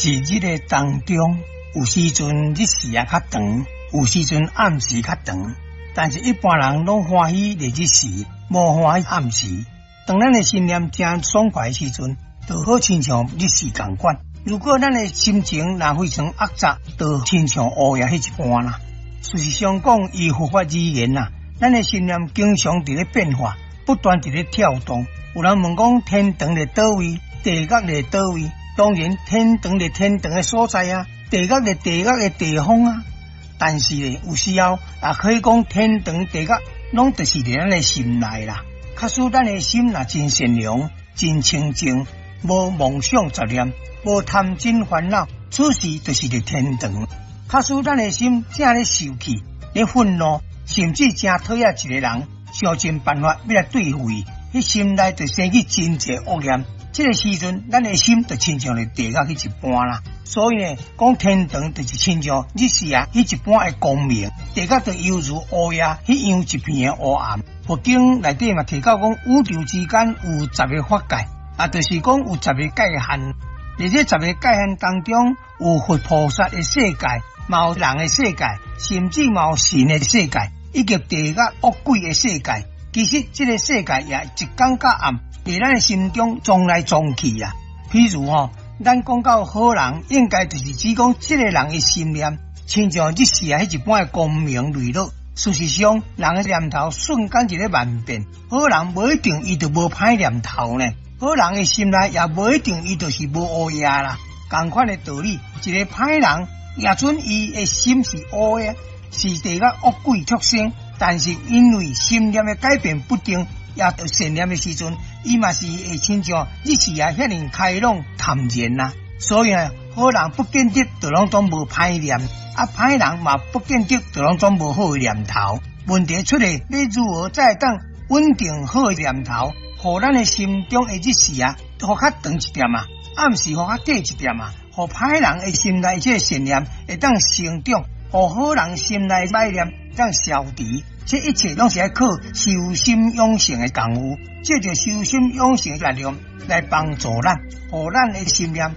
一日的當中，有時陣日時也較長，有時陣暗時較長。但是，一般人攏歡喜佇日時，無歡喜暗時。當咱的心念誠爽快的時陣，就好親像日時仝款。如果咱的心情若非常惡雜，就親像烏夜彼一般啦。事實上講，依佛法而言啊，咱的心念經常佇咧變化，不斷佇咧跳動。有人問講，天堂佇佗位，地獄佇佗位？當然，天堂佇天堂的所在啊，地獄佇地獄的地方啊。但是咧，有時候也可以講，天堂地獄攏就是佇咱的心內啦。假使咱的心若真善良、真清淨，無妄想雜念，無貪嗔煩惱，此時就是佇天堂。假使咱的心正咧受氣、咧憤怒，甚至誠討厭一個人，想盡辦法欲來對付伊，彼心內就生起真濟惡念。這个時陣，咱的心就親像佇地獄彼一般啦。所以呢，講天堂就是親像日時啊，彼一般的光明；地獄就猶如烏夜彼樣一片的烏暗。佛經內底嘛提到講，宇宙之間有十个法界，啊，就是講有十个界限。佇這十个界限當中，有佛菩薩的世界，嘛有人的世界，甚至嘛有神的世界，以及地獄惡鬼的世界。其實這个世界也一光佮暗，佇咱的心中撞來撞去啊。譬如吼，咱講到好人，應該就是指講這个人的心念，親像日時啊，彼一般的光明磊落。事實上，人的念頭瞬間就咧萬變。好人無一定伊就無歹念頭呢，好人的心內也無一定伊就是無烏夜啦。仝款的道理，一个歹人，也準伊的心是烏的，是地獄惡鬼畜生，但是因為心念的改變不定，也著善念的時陣，伊嘛是會親像日時啊遐爾開朗坦然啦。所以啊，好人不見得就攏總無歹念，啊歹人嘛不見得就攏總無好的念頭。問題出來，欲如何才會當穩定好的念頭，予咱的心中的日時啊，予較長一點啊，暗時予較短一點啊，予歹人的心內這个善念會當成長，予好人心內歹念會當消除。這一切攏是愛靠修心養性的功夫，藉著修心養性的力量來幫助咱，予咱的心念。